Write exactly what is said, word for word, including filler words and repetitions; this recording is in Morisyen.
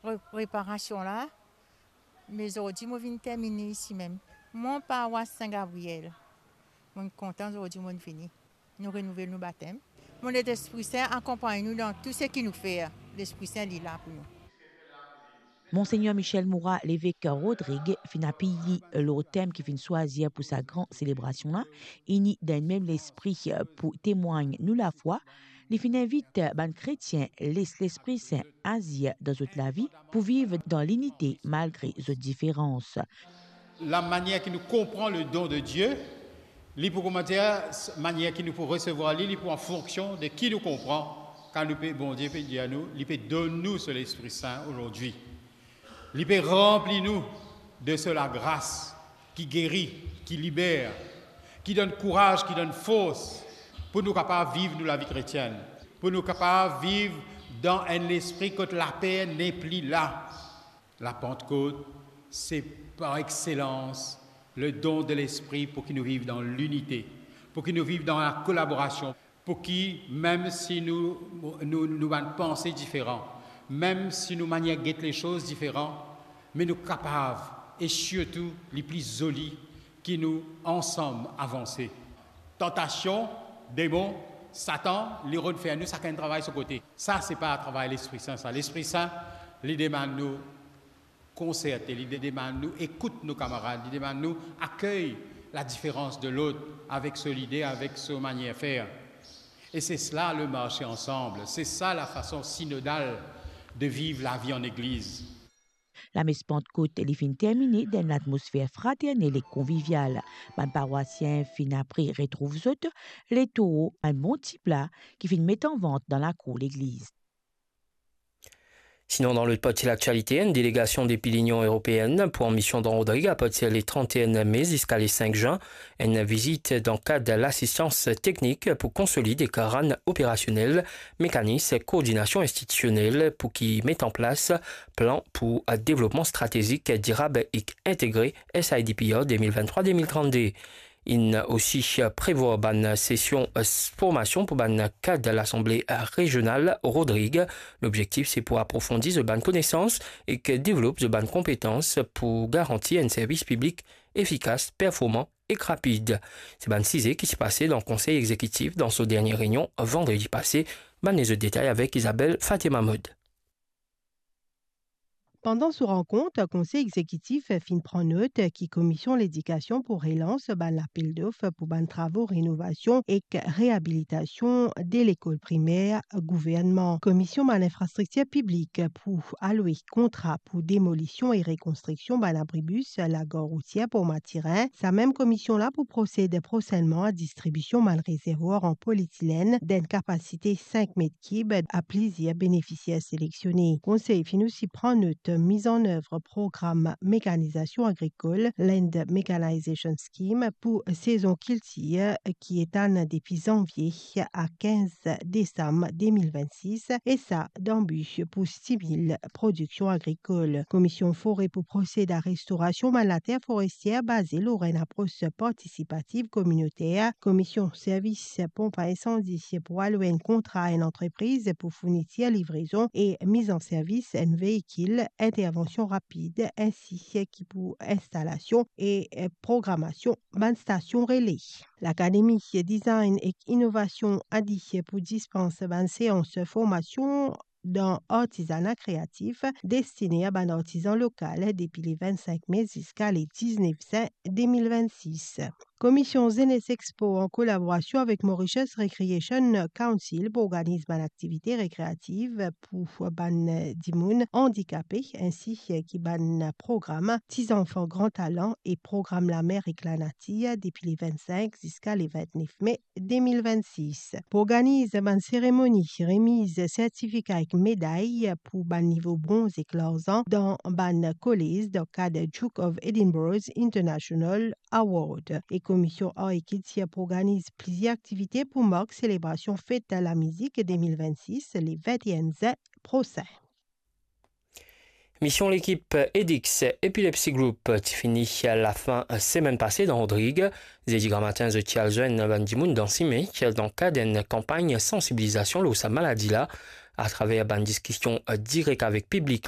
Pre-, preparasion la, me zordi mo vinn termine isi mem. Mo parwas Sin Gabriel. Mo kontan zordi mo vini. Nou renouvel nou batem. Mo Lespri Sin akonpagn nou dan tou seki nou fer. Lespri Sin li la pou nou. Monsegner Michel Moura, levek Rodrig, finn apiy li lor tem ki finn swazir pou sa gran selebrasion la, ini dan enn mem lespri pou temwagn nou lafwa. Li finn invit bann kretien les Lespri Sin azir dan zot lavi pou viv dan linite malgre zot diferans. Lamanier ki nou konpran le don de Dieu, li pou, kouma dir, manier ki nou pou resevwar li, li pou an fonksion de ki nou konpran. Kan nou pe, Bondie pe dir nou, li pe donn nou so Lespri Sin azordi. Li pe ranpli nou de so lagras ki geri, ki liber, ki donn kouraz, ki donn fors pou nou kapav viv nou lavi kretienn, pou nou kapav viv dan enn lespri kot laper nepli la. Lapant Kot, se par exselans le don de Lespri pou ki nou viv dan linite, pou ki nou viv dan lakolaborasion, pou ki, mem si nou, nou, nou bann panse diferan, mem si nou manier get lesoz diferan, me nou kapav, e sirtou, li pli zoli, ki nou ansam avanse. Tantasion, demon, Satan, li rod fer nou sakenn travay so kote. Sa, se pa travay Lespri Sin, sa. Lespri Sin, li demann nou konserte, li de-, demann nou ekout nou kamarad, li demann nou akey ladiferans de lot avek so lide, avek so manier fer. E se sela le marse ansam, se sa lafason sinodal de viv lavi an legliz. Lames Pantkot, li finn termine dan enn latmosfer fraternel e konvivial. Bann parwasien finn apre retrouv zot, letou enn bon ti pla ki finn met an vant dan lakour legliz. Sinon, dan lot parti laktialite, enn delegasion depi Linion Eropeenn pran mision dan Rodrig apartir le trente et un mai ziska le cinq juin. Enn vizit dan kad lasistans teknik pou konsolid e rann operasionel mekanis koordinasion institisionel pou ki met an plas plan pou devlopman stratezik dirab ek integre, S I D P R deux mille vingt-trois deux mille trente-deux. Inn osi prevwar bann sesion formasion pou bann kad Lasanble Rezional Rodrig. Lobzektif se pou aprofondi zot bann konesans ek devlop zot bann konpetans pou garanti enn servis piblik efikas, performan ek rapid. Se bann size ki ti pase dan Konsey Egzekitif dan so dernie reynion vandredi pase. Bann lezot detay avek Isabelle Fatima Mod. Pandan so rankont, Konsey Egzekitif finn pran not ki Komision Ledikasion pou relans bann lapel dof pou bann travo renovasion ek reabilitasion de lekol primer gouvernman. Komision bann infrastriktir piblik pou alwe kontra pou demolision e rekonstriksion bann abribis lagar routier Port Mathurin. Sa mem komision la pou prosed prosennman a distribision bann rezervwar an politilenn dan enn kapasite sink met kib a plizier benefisier selektione. Konsey finn osi pran not miz an nev program mekanizasion agrikol, Land Mechanization Scheme, pou sezon kiltir ki etann depi zanvie a kinz desam de mil vennsis, e sa dan bi pou stimil prodiksion agrikol. Komision Fore pou prosed a restorasion bann later forestier baze lor enn apros partisipativ kominoter. Komision Servis Ponp a Insandi pou alwe enn kontra a enn antrepriz pou fournitir livrezon e miz an servis enn veikil intervansion rapid, ensi ki pou instalasion e programasion bann stasion rele. Lakademi Design ek Inovasion ADIH pou dispans bann seans formasion dan artizana kreatif destine a bann artizan lokal depi le vennsenk me ziska le diznef zin de mil vennsis. Komision Zenes Expo, an kolaborasion avek Mauritius Recreation Council, pou organiz bann aktivite rekreativ pou bann dimoun andikape, ensi ki bann program Ti Zanfan Gran Talan e program Lamer ek Lanatir depi le vennsenk ziska le vintnef me de mil vennsis. Pou organiz bann seremoni remiz sertifika ek meday pou bann nivo bronz ek larzan dan bann kolez dan kad Duke of Edinburgh's International Award. E Komision Ar ek Kiltir pou organiz plizier aktivite pou mark selebrasion fet lamizik de mil vennsis, le vinteenn zin prosin. Mision lekip Edix Epilepsy Group ti fini lafin semenn pase dan Rodrig. Zedi gramatin, zot ti al zwenn bann dimoun dan sime, dan kad enn kanpagn sansibilizasion lor sa maladi la, atraver bann diskision direk avek piblik